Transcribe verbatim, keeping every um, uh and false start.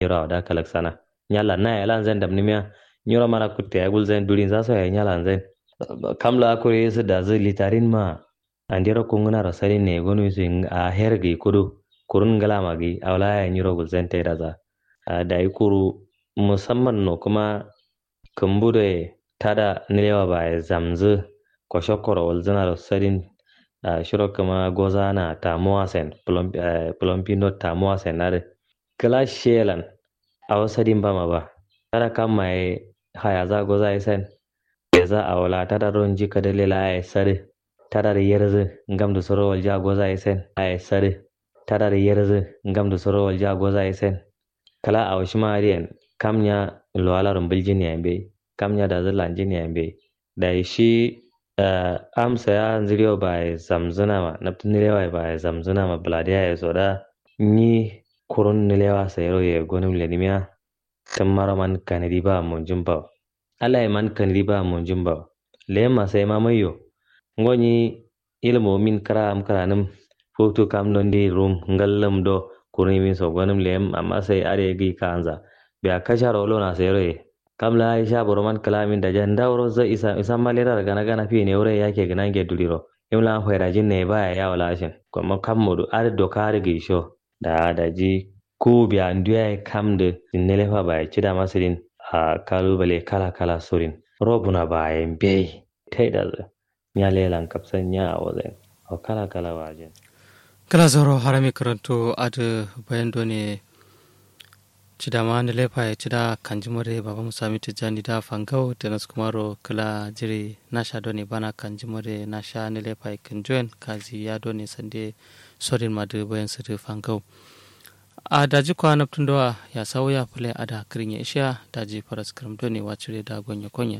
Nyiro awo da kalaksana. Nyalla naye lan zain damnimiya. Nyiro mana kutte yayi gulzain durin zaso yayi nyalla zain. Kamla akure yesu dazu litarin ma. Andero kungunaro sadin ne gonu yusu a her gi kudu. Kurun ngala ma gi awla yayi nyiro gulzain taida za. Dayi kuru musamman no kuma kumbu doye tada nilewa baye zamzu. Koshokoro walzunaro sadin. Shiro kuma gozana tamuwa sen. Plompindo tamuwa sen nadu. Kla shelan. Awo sadin bama ba. Tada kamma ye hayaza goza ye sen. Leza awo la tada ronji kadale la ye sadu. Tada da yerzu. Ngamdu soro walja goza ye sen la ye sadu. Tada da yerzu. Ngamdu soro walja goza ye sen. Kla awo shima adiyen. Kam nya luwala rumbuljin yayi mbeyi. Kam nya dazu lanjin yayi mbeyi. Dayi shi. Amsa ya nziriyo baye zamzuna ma nabtu nilewa ye baye zamzuna ma bladiya ye so da. Nyi kurun nilewa sayiro ye gonum lenimiya. Tummaro man kanadi ba monjum bawo. Alaye man kanadi ba monjum bawo. Leyim ma sai ma maiyo. Ngo nyi. Ilmu min kra am kranum. Futu kam dondi rum ngallum do. Kurun yimin so gonum leyim amma sai ade gi kanza. Biya kasharo lona sayiro ye. Kam la aisha boroman kla min daja ndawuro za isa isa malera gana gana fi ne wure yake gana nge duliro. Imla fairajin ne baya yawo lashin kuma kam modu ade doka ade gi sho. Da daji. Ku biya ndu yayi kam du. Nelefa baye cida masidin. A kalubale kala kala surin. Robuna baye mbeyi. Taida zu. Nya lelan kapsan nya awo zain. Awo kala kala wajin. Kla zauro harami karantu adu bayan done. Cida ma nelefa ye cida kanjima de baba musami tijjani da fangau da naskumaro kla jiri nasha done bana kanjima de nasha nelefa ye kanjoyen kazi ya done sande. Sodin ma du bayan su du fangau. A daji kwa nabtun dowa ya sawu ya fule ada kirin ya ishiya daji faras kirim done wacire da gonye konye.